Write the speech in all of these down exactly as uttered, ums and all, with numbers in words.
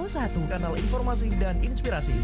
Satu, kanal informasi dan inspirasi.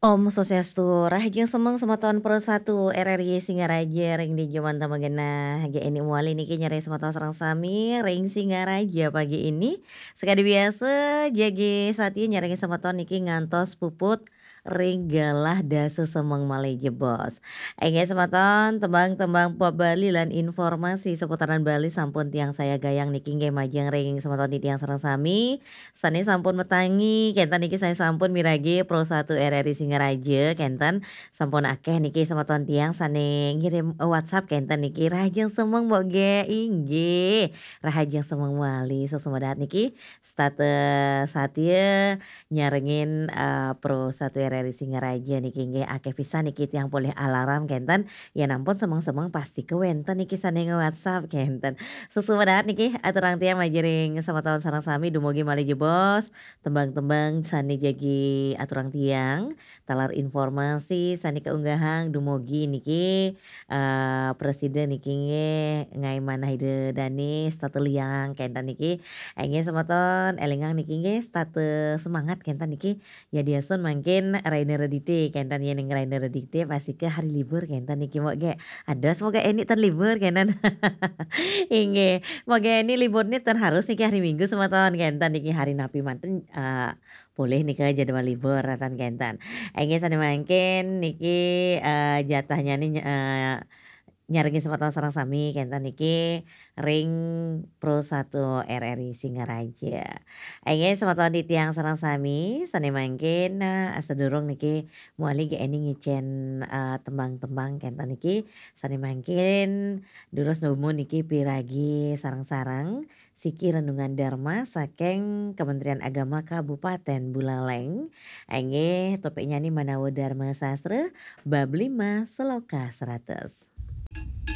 Om Swastiastu, rahajeng semeng semeton Pro satu R R I Singaraja ring dija manten magenah. Jagi eni mawali niki nyarengin semeton sareng sami ring Singaraja pagi ini. Sakadi biasa, jagi satia nyarengin semeton niki ngantos puput ring galah dasa semeng malih jebos. Inggih semeton, tembang-tembang pop Bali lan informasi seputaran Bali sampun tiang sayagayang niki nggih majeng ring semeton titiang sareng sami sane sampun matangi, kenten niki sane sampun miragi Pro satu R R I Singaraja, kenten sampun akeh niki semeton tiang sane ngirim WhatsApp, kenten niki rahajeng semeng Mbok Ge, inggih, rahajeng semeng malih, suksma dahat niki, setata satia nyarengin, eh, Pro satu R R I Singaraja niki, nggih, akeh pisan niki tiang polih alarm, kenten, yen ampun semeng-semeng pasti kewenten niki sane nge-WhatsApp, kenten. Suksma dahat niki, aturang tiang majeng ring semeton sareng sami dumugi malih jebos, tembang-tembang sane jagi aturang tiang, taler informasi sane kaunggahang dumugi niki, eh, prasida niki nggih ngae manah Ida Dane setata liang kenten niki. Inggih semeton, elingang niki nggih setata semangat kenten niki. Yadiastun mangkin raina Redite kenten, yen ring raina Redite pastika hari libur kenten niki, Mbok Ge. Ados Mbok Ge eni ten libur kenten. Inggih, Mbok Ge eni liburne ten harus niki hari Minggu semeton kenten niki, hari napi manten, eh, polih nika jadwal libur, ratan kenten. Inggih sane mangkin niki, eh, jatahnyane, eh, nyarengin semeton sareng sami kenten niki ring Pro satu R R I Singaraja. Inggih semeton titiang sareng sami sane mangkin, eh, sadurung niki mawali Ge eni ngicen, eh, tembang-tembang kenten niki sane mangkin durus nuju niki piragi sareng-sareng siki Renungan Dharma saking Kementerian Agama Kabupaten Buleleng. Inggih, topiknyane manawa Dharma Sastra, bab lima, sloka seratus.